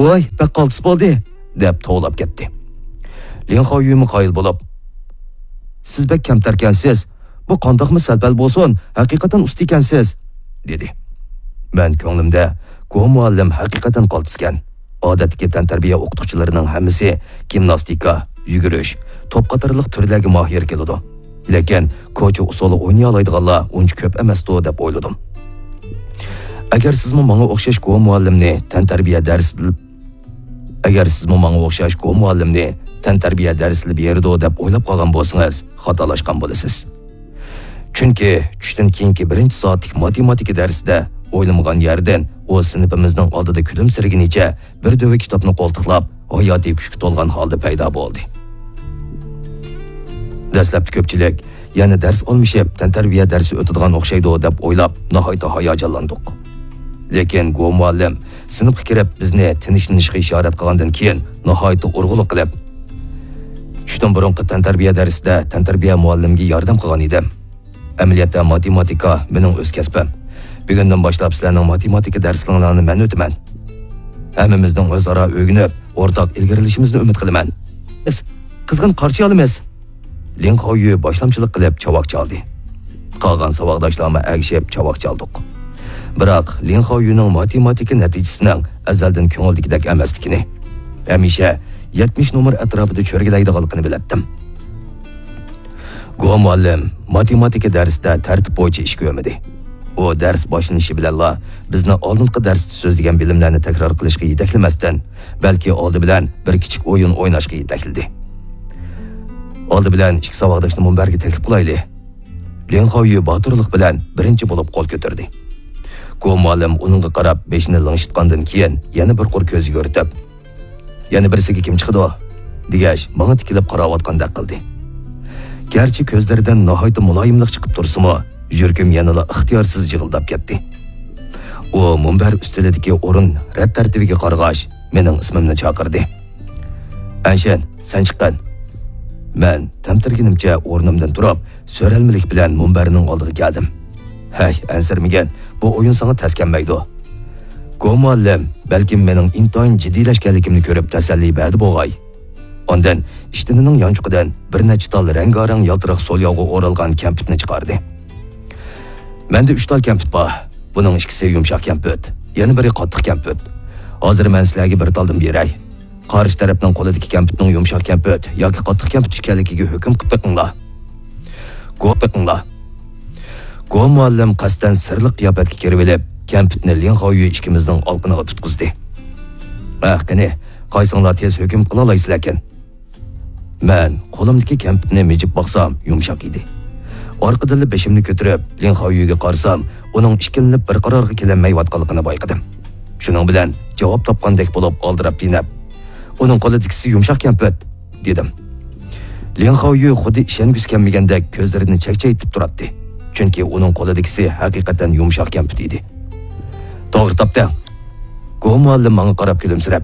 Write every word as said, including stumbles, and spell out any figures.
«ۋاي، بەك قالتىس بولدى!» دەپ توۋلاپ كەتتى. لىڭ خاۋيۈمۇ قايىل بولۇپ، «سىز بەك كەمتەركەنسىز. بۇ قانداقمۇ سەل-پەل بولسۇن، ھەقىقەتەن ئۇستا ئىكەنسىز!» دېدى. مەن كۆڭلۈمدە، «گو مۇئەللىم ھەقىقەتەن قالتىسكەن. ئادەتتىكى تەنتەربىيە ئوقۇتقۇچىلىرىنىڭ ھەممىسى گىمناستىكا، يۈگۈرۈش، توپ قاتارلىق تۈرلەرگە ماھىر كېلىدۇ. لېكىن كوچا ئۇسسۇلى ئوينىيالايدىغانلار ئۇنچە كۆپ ئەمەستۇ» دەپ ئويلىدىم. «ئەگەر سىزمۇ ماڭا ئوخشاش گو مۇئەللىمنى تەنتەربىيە دەرسى، ئەگەر سىزمۇ ماڭا ئوخشاش گو مۇئەللىمنى تەنتەربىيە دەرسىلا بېرىدۇ دەپ ئويلاپ قالغان بولسىڭىز، خاتالاشقان بولىسىز. چۈنكى چۈشتىن كېيىنكى بىرىنچى سائەتلىك ماتېماتىكا دەرسىدە ئويلىمىغان يەردىن ئۇ سىنىپىمىزنىڭ ئالدىدا كۈلۈمسىرىگىنىچە بىر دۆۋە كىتابنى قولتۇقلاپ، ھاياتىي كۈچكە تولغان ھالدا پەيدا بولدى.» دەسلەپتە كۆپچىلىك، «يەنە دەرس ئالمىشىپ، تەنتەربىيە دەرسى ئۆتىدىغان ئوخشايدۇ» دەپ ئويلاپ، ناھايىتى ھاياجانلاندۇق. لېكىن گو مۇئەللىم سىنىپقا كىرىپ، بىزنى تىنچلىنىشقا ئىشارەت قىلغاندىن كېيىن، ناھايىتى ئۇرغۇلۇق قىلىپ، «چۈشتىن بۇرۇنقى تەنتەربىيە دەرسىدە تەنتەربىيە مۇئەللىمگە ياردەم قىلغان ئىدىم. ئەمەلىيەتتە ماتېماتىكا مېنىڭ ئۆز كەسپىم. بۈگۈندىن باشلاپ سىلەرنىڭ ماتېماتىكا دەرسلىرىڭلارنى مەن ئۆتىمەن. ھەممىمىزنىڭ ئۆزئارا ئۆگىنىپ، ئورتاق ئىلگىرىلىشىمىزنى ئۈمىد قىلىمەن. بىز قىزغىن قارشى ئالىمىز!» لىڭ خاۋيۈ باشلامچىلىق قىلىپ چاۋاك چالدى. قالغان ساۋاقداشلارمۇ ئەگىشىپ چاۋاك چالدۇق. بىراق، لىڭ خاۋيۈنىڭ ماتېماتىكا نەتىجىسىنىڭ ئەزەلدىن كۆڭۈلدىكىدەك ئەمەسلىكىنى، ھەمىشە يەتمىش نومۇر ئەتراپىدا چۆرگىلەيدىغانلىقىنى بىلەتتىم. گو مۇئەللىم ماتېماتىكا دەرسىدە تەرتىپ بويىچە ئىش كۆرمىدى. ئۇ دەرس باشلىنىشى بىلەنلا بىزنى ئالدىنقى دەرستە سۆزلىگەن بىلىملەرنى تەكرار قىلىشقا يېتەكلىمەستىن، بەلكى ئالدى بىلەن بىر كىچىك ئويۇن ئويناشقا يېتەكلىدى. «ئالدى بىلەن ئىككى ساۋاقداشنى مۇنبەرگە تەكلىپ قىلايلى.» لىڭ خاۋيۈ باتۇرلۇق بىلەن بىرىنچى بولۇپ قول كۆتۈردى. گو مۇئەللىم ئۇنىڭغا قاراپ بېشىنى لىڭشىتقاندىن كېيىن، يەنە بىر قۇر كۆز يۈگۈرتۈپ، «يەنە بىرسىگە كىم چىقىدۇ؟» دېگەچ، ماڭا تىكىلىپ قاراۋاتقاندەك قىلدى. گەرچە كۆزلىرىدىن ناھايىتى مۇلايىملىق چىقىپ تۇرسىمۇ، يۈرىكىم يەنىلا ئىختىيارسىز جىغىلداپ كەتتى. ئۇ مۇنبەر ئۈستىلىدىكى ئورۇن رەت تەرتىپىگە قارىغاچ، مېنىڭ ئىسمىمنى چاقىردى. «ئەنشەن، سەن چىققىن.» مەن تەمتىرىگىنىمچە ئورنۇمدىن تۇرۇپ، سۆرەلمىلىك بىلەن مۇنبەرنىڭ ئالدىغا كەلدىم. «ھەي، ئەنسىرىمىگىن، بۇ ئويۇن ساڭا تەس كەلمەيدۇ. گو مۇئەللىم بەلكىم مېنىڭ ئىنتايىن جىددىيلەشكەنلىكىمنى كۆرۈپ تەسەللى بەردى بوغاي.» ئاندىن ئىشتىنىنىڭ يانچۇقىدىن بىر نەچچە تال رەڭگارەڭ يالتىراق سولياۋغا ئورالغان كەمپۈتنى چىقاردى. «مەندە ئۈچ تال كەمپۈت بار. بۇنىڭ ئىككىسى يۇمشاق كەمپۈت، يەنە بىرى قاتتىق كەمپۈت. ھازىر مەن سىلەرگە بىر تالدىن بېرەي. قارشى تەرەپنىڭ قولىدىكى كەمپۈتنىڭ يۇمشاق كەمپۈت ياكى قاتتىق كەمپۈت ئىكەنلىكىگە ھۆكۈم قىلىپ بېقىڭلار.» گو بېقىڭلار. گو مۇئەللىم قەستەن سىرلىق قىياپەتكە كىرىۋېلىپ، كەمپۈتنى لىڭ خاۋيۈ ئىككىمىزنىڭ ئالىقىنىغا تۇتقۇزدى. «ھە، قېنى، قايسىڭلار تېز ھۆكۈم قىلالايسىلەركىن؟» مەن قولۇمدىكى كەمپۈتنى مىجىپ باقسام، يۇمشاق ئىدى. ئارقىدىنلا بېشىمنى كۆتۈرۈپ، لىڭ خاۋيۈگە قارىسام، ئۇنىڭ ئىككىلىنىپ بىر قارارغا كېلەلمەيۋاتقانلىقىنى بايقىدىم. شۇنىڭ بىلەن جاۋاب تاپقاندەك بولۇپ، ئالدىراپ دېنەپ، «ئۇنىڭ قولىدىكىسى يۇمشاق كەمپۈت» دېدىم. لىڭ خاۋيۈ خۇددى ئىشەنگۈسى كەلمىگەندەك كۆزلىرىنى چەكچەيتىپ تۇراتتى. چۈنكى ئۇنىڭ قولىدىكىسى ھەقىقەتەن يۇمشاق كەمپۈت ئىدى. «توغرا تاپتىڭ.» گو مۇئەللىم ماڭا قاراپ كۈلۈمسىرەپ،